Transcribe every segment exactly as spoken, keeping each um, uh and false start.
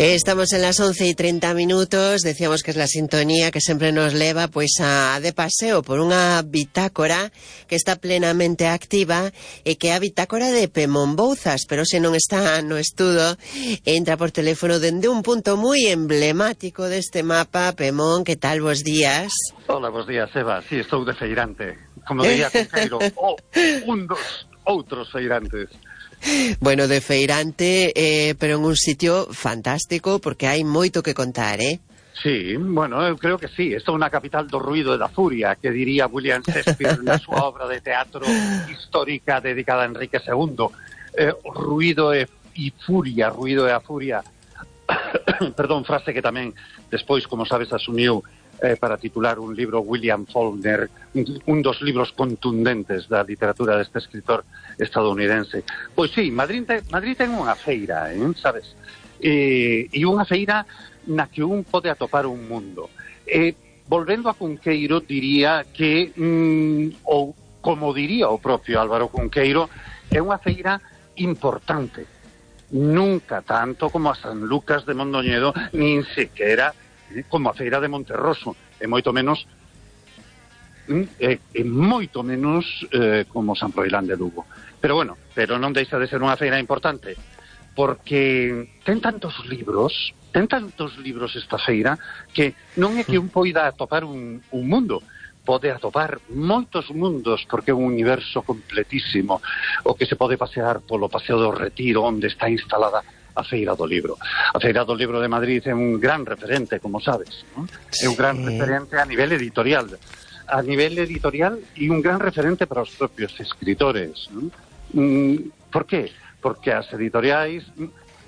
Estamos en las once y treinta minutos, decíamos que es la sintonía que sempre nos leva pois a de paseo por unha bitácora que está plenamente activa e que é a bitácora de Pemón Bouzas, pero se non está no estudo, entra por teléfono dende un punto moi emblemático deste mapa. Pemón, que tal, vos días? Hola, vos días, Eva. Sí, estou de feirante, como diría Cunqueiro, oh, un dos outros feirantes. Bueno, de feirante, eh, pero en un sitio fantástico, porque hai moito que contar, eh? Sí, bueno, eu creo que sí. Esta é unha capital do ruido e da furia, que diría William Shakespeare na súa obra de teatro histórica dedicada a Enrique segundo. Eh, ruido e, e furia, ruido e a furia. Perdón, frase que tamén despois, como sabes, asumiu eh, para titular un libro William Faulkner, un dos libros contundentes da literatura deste escritor estadounidense. Pois sí, Madrid, te, Madrid ten unha feira, eh, sabes? E, e unha feira na que un pode atopar un mundo. E, volvendo a Cunqueiro, diría que, mm, ou como diría o propio Álvaro Cunqueiro, é unha feira importante. Nunca tanto como a San Lucas de Mondoñedo, nin sequera como a feira de Monterroso, e moito menos e, e moito menos eh, como San Froilán de Lugo. Pero bueno, pero non deixa de ser unha feira importante, porque ten tantos libros, ten tantos libros esta feira, que non é que un poida atopar un, un mundo, pode atopar moitos mundos, porque é un universo completísimo, o que se pode pasear polo Paseo do Retiro, onde está instalada a Feira do Libro. A Feira do Libro de Madrid é un gran referente, como sabes, ¿no? Sí. É un gran referente a nivel editorial, a nivel editorial e un gran referente para os propios escritores, ¿no? Mm, por qué? Porque as editoriais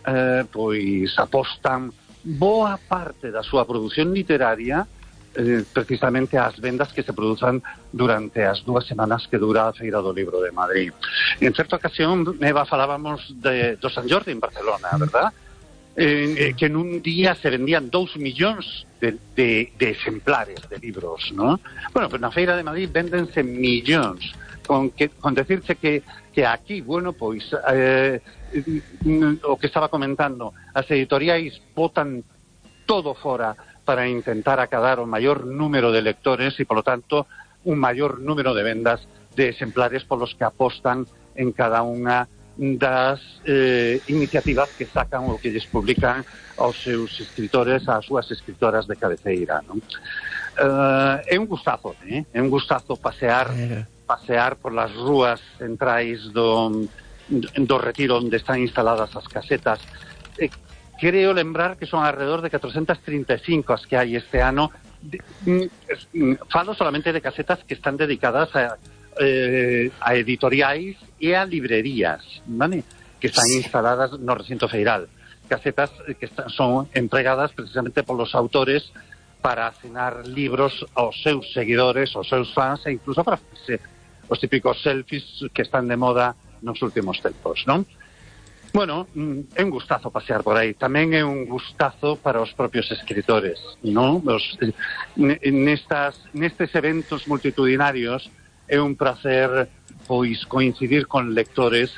eh, pois apostan boa parte da súa produción literaria eh, precisamente ás vendas que se produzan durante as dúas semanas que dura a Feira do Libro de Madrid. En certa ocasión, Eva, falábamos de, do San Jordi en Barcelona, verdad? Eh, que en un día se vendían dous millóns de, de, de exemplares de libros, ¿no? Bueno, pero na Feira de Madrid véndense millóns, con, que, con decirse que, que aquí, bueno, pois, eh, o que estaba comentando, as editoriais botan todo fora para intentar acadar o maior número de lectores e, polo tanto, un maior número de vendas de exemplares polos que apostan en cada unha das eh, iniciativas que sacan ou que lles publican aos seus escritores, ás súas escritoras de cabeceira, non? Uh, é un gustazo, eh? É un gustazo pasear pasear por las rúas centrais do, do Retiro, onde están instaladas as casetas. Eh, Creo lembrar que son alrededor de catrocentas trinta e cinco as que hai este ano. Falo solamente de casetas que están dedicadas a, eh, a editoriais e a librerías, ¿vale? Que están instaladas no recinto feiral. Casetas que están, son empregadas precisamente polos autores para asinar libros aos seus seguidores, aos seus fans, e incluso para facerse os típicos selfies que están de moda nos últimos tempos, non? Bueno, é un gustazo pasear por aí. Tamén é un gustazo para os propios escritores, ¿no? Os, nestas, nestes eventos multitudinarios é un placer, pois, coincidir con lectores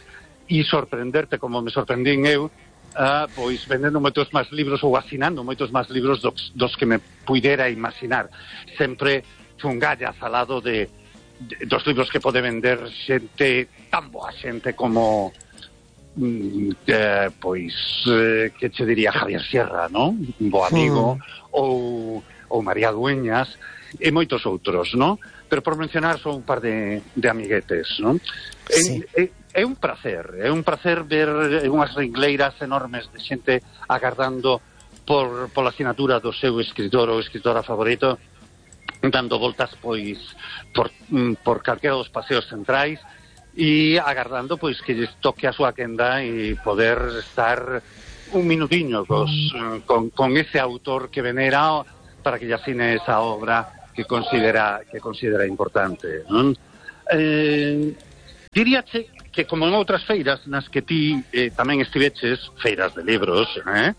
e sorprenderte, como me sorprendín eu, uh, pois, vendendo moitos máis libros ou asinando moitos máis libros dos, dos que me puidera imaginar. Sempre fungallas al lado de, de dos libros que pode vender xente, tan boa xente como... Eh, pois eh, que che diría Javier Sierra, non? Un bo amigo, mm. ou, ou María Dueñas e moitos outros, non? Pero por mencionar son un par de, de amiguetes, non? Sí. É, é, é un placer, é un placer ver unhas ringleiras enormes de xente agardando por, por a asinatura do seu escritor ou escritora favorito, dando voltas pois por, por calquera dos paseos centrais e agardando pois que lles toque a súa quenda e poder estar un minutiño cos, con, con ese autor que venera para que lle asine esa obra que considera que considera importante, non? Eh, diríache que como en outras feiras nas que ti eh, tamén estiveches, feiras de libros, eh?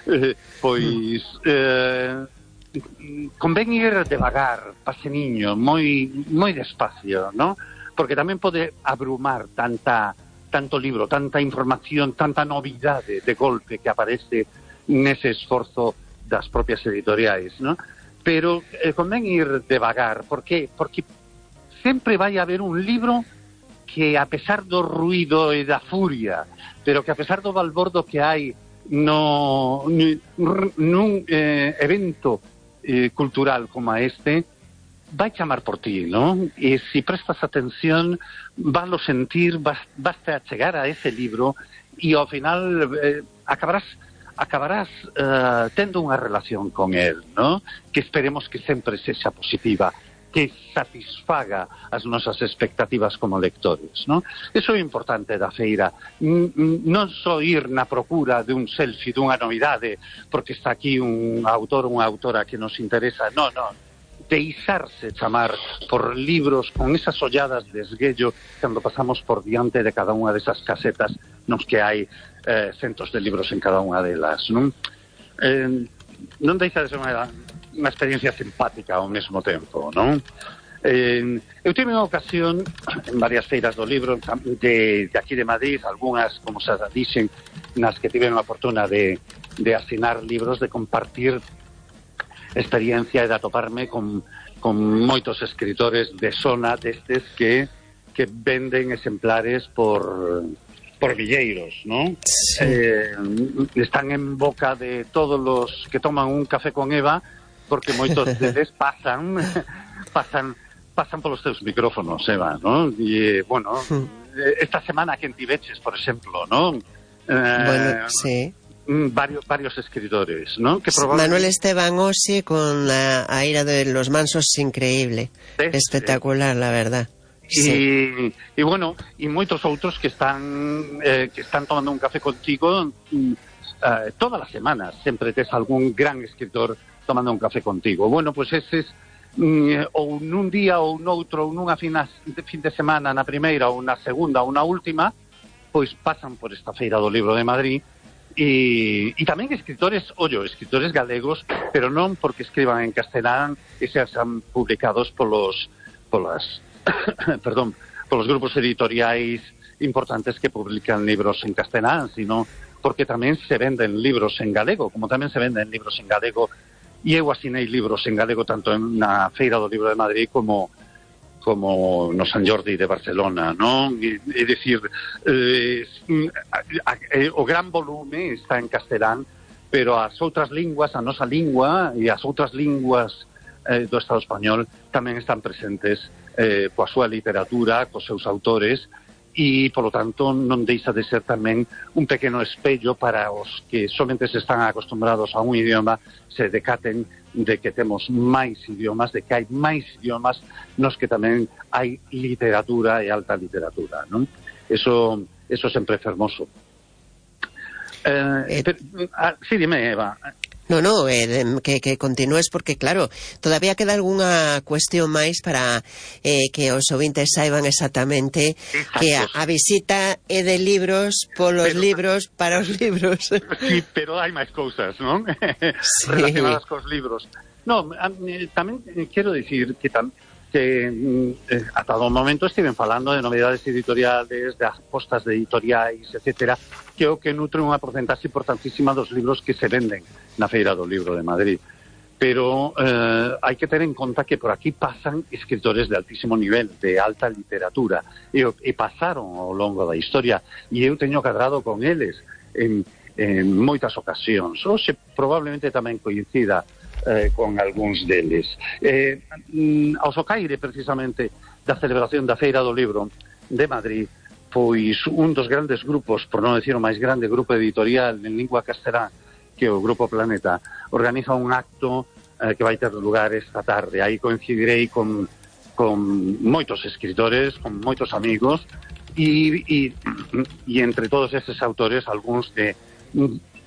Eh, pois eh, convén ir devagar, paseniño, moi moi despacio, non? Porque tamén pode abrumar tanta tanto libro, tanta información, tanta novidade de golpe que aparece nese esforzo das propias editoriais, non? Pero eh, convén ir devagar, porque porque sempre vai haber un libro que, a pesar do ruido e da furia, pero que a pesar do balbordo que hai no nun eh, evento eh, cultural como este, vai chamar por ti, non? E se prestas atención, valo sentir, vas, vas a chegar a ese libro e ao final eh, acabarás acabarás uh, tendo unha relación con el, ¿no? Que esperemos que sempre sexa positiva, que satisfaga as nosas expectativas como lectores, ¿no? Eso é importante da feira, N non só ir na procura de un selfie, dunha novidade, porque está aquí un autor ou unha autora que nos interesa, non, non, deixarse chamar por libros con esas olladas de esguello cando pasamos por diante de cada unha desas casetas nos que hai eh, centos de libros en cada unha delas, non? Eh, non deixa de ser unha, unha experiencia simpática ao mesmo tempo, non? Eh, eu tive unha ocasión en varias feiras do libro de, de aquí de Madrid, algunhas, como se dixen, nas que tive unha fortuna de, de asinar libros, de compartir experiencia e de atoparme con, con moitos escritores de zona destes que, que venden exemplares por... por villeiros, ¿no? Sí. Eh, están en boca de todos los que toman un café con Eva, porque moitos deles pasan pasan pasan polos teus micrófonos, Eva, ¿no? E, bueno, esta semana que en Tibeches, por exemplo, ¿no? Eh, bueno, sí. Varios, varios escritores, ¿no? Que probablemente... Manuel Esteban Osi con la, a ira de los mansos, increíble. Sí, espectacular, sí. La verdad. Sí. E, e bueno, e moitos outros que están eh, que están tomando un café contigo eh, todas as semanas, sempre tes algún gran escritor tomando un café contigo. Bueno, pois pues eses mm, ou nun día ou noutro, ou nunha fina, fin de semana na primeira ou na segunda ou na última, pois pasan por esta feira do libro de Madrid e, e tamén escritores, ollo, escritores galegos, pero non porque escriban en castelán e sean publicados polos polas perdón, polos grupos editoriais importantes que publican libros en castelán, sino porque tamén se venden libros en galego, como tamén se venden libros en galego, e eu asinei libros en galego tanto na Feira do Libro de Madrid como como no San Jordi de Barcelona, non? É dicir, eh, o gran volume está en castelán, pero as outras linguas, a nosa lingua e as outras linguas eh, do Estado español tamén están presentes eh, coa súa literatura, cos seus autores, e, polo tanto, non deixa de ser tamén un pequeno espello para os que somente se están acostumbrados a un idioma, se decaten de que temos máis idiomas, de que hai máis idiomas nos que tamén hai literatura e alta literatura, non? Eso, eso sempre é fermoso. Eh, eh, pero, ah, sí, dime, Eva. No, no, eh, que, que continúes porque, claro, todavía queda algunha cuestión máis para eh, que os ouvintes saiban exactamente. Exacto. Que a, a visita é de libros polos pero, libros para os libros. Sí, pero hai máis cousas, non? Sí. Relacionadas cos libros. No, eh, tamén quero dicir que tam, que eh, ata o momento estiven falando de novedades editoriales, de apostas de editoriais, etcétera, que o que nutre unha porcentaxe importantísima dos libros que se venden na Feira do Libro de Madrid. Pero eh, hai que ter en conta que por aquí pasan escritores de altísimo nivel, de alta literatura, e, e pasaron ao longo da historia, e eu teño cadrado con eles en, en moitas ocasións. Oxe, probablemente tamén coincida eh, con algúns deles. Eh, ao socaire, precisamente, da celebración da Feira do Libro de Madrid, pois un dos grandes grupos, por non decir o máis grande grupo editorial en lingua castelán, que o Grupo Planeta, organiza un acto eh, que vai ter lugar esta tarde. Aí coincidirei con, con moitos escritores, con moitos amigos, e, e, e entre todos eses autores, algúns de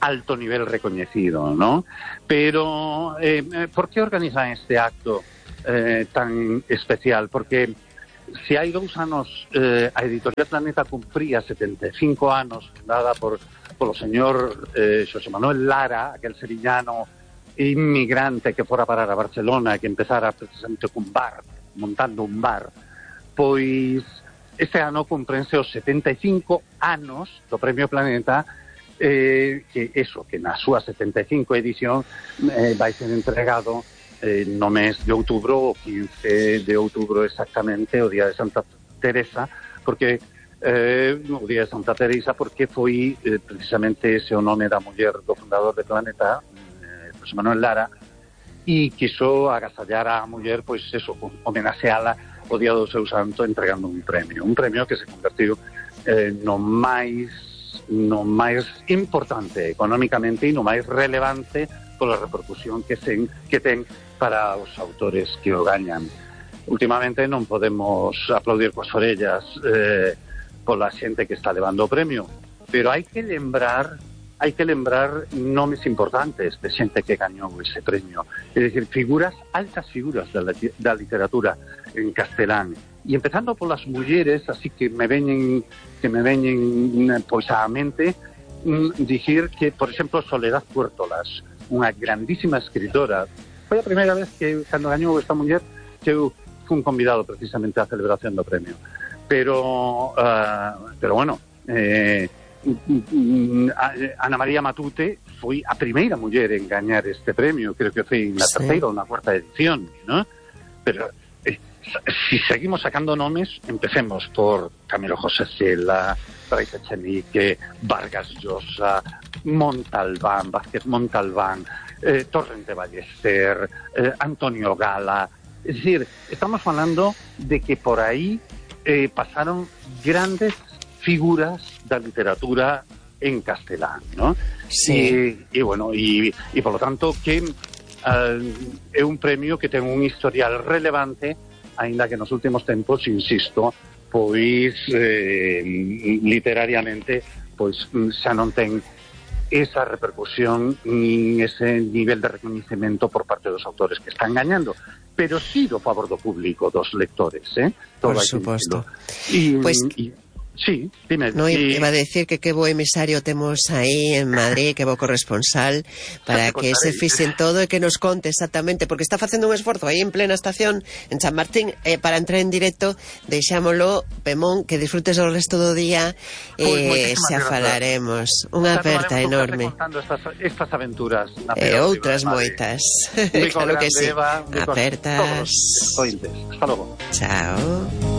alto nivel recoñecido, ¿no? Pero, eh, por que organizan este acto eh, tan especial? Porque se hai dous anos eh, a Editorial Planeta cumpría setenta e cinco anos, fundada por polo señor eh, Xosé Manuel Lara, aquel sevillano inmigrante que fora parar a Barcelona e que empezara precisamente cun bar, montando un bar, pois este ano cumprense os setenta e cinco anos do Premio Planeta, eh, que eso, que na súa setenta e cinco edición eh, vai ser entregado eh, no mes de outubro, o quince de outubro exactamente, o día de Santa Teresa, porque eh, o día de Santa Teresa porque foi eh, precisamente ese o nome da muller do fundador de Planeta, eh, José Manuel Lara, e quiso agasallar a muller, pois eso, homenaxeala o día do seu santo entregando un premio, un premio que se convertiu eh, no máis no máis importante económicamente e no máis relevante pola repercusión que, sen, que ten para os autores que o gañan. Últimamente non podemos aplaudir coas orellas eh, pola xente que está levando o premio, pero hai que lembrar hai que lembrar nomes importantes de xente que gañou ese premio, é dicir, figuras, altas figuras da, da literatura en castelán, e empezando polas mulleres, así que me veñen que me veñen pois á mente mm, dicir que, por exemplo, Soledad Puertolas, unha grandísima escritora, foi a primeira vez que cando gañou esta muller que eu fui un convidado precisamente á celebración do premio, pero uh, pero bueno, eh Ana María Matute foi a primeira muller en gañar este premio, creo que foi na sí. terceira ou na cuarta edición, ¿no? Pero eh, si seguimos sacando nomes, empecemos por Camilo José Cela, Brais Echenique, Vargas Llosa, Montalbán, Vázquez Montalbán, eh, Torrente Ballester, eh, Antonio Gala. Es decir, estamos falando de que por ahí eh, pasaron grandes figuras da literatura en castelán, ¿no? Sí. E, e bueno, e, e por lo tanto que uh, é un premio que ten un historial relevante, aínda que nos últimos tempos, insisto, pois eh, literariamente pois xa non ten esa repercusión nin ese nivel de recoñecemento por parte dos autores que están gañando, pero sí do favor do público, dos lectores, eh? Todo por suposto. E, pues... y, Sí, dime. No, y... iba a decir que que bo emisario temos aí en Madrid, que bo corresponsal, para que se fixen todo e que nos conte exactamente, porque está facendo un esforzo aí en plena estación, en San Martín, eh, para entrar en directo. Deixámolo, Pemón, que disfrutes o resto do día, eh, pues xa falaremos. Unha aperta enorme. Estas, estas aventuras. E eh, outras moitas. Claro que sí. Eva, apertas. Hasta logo. Chao.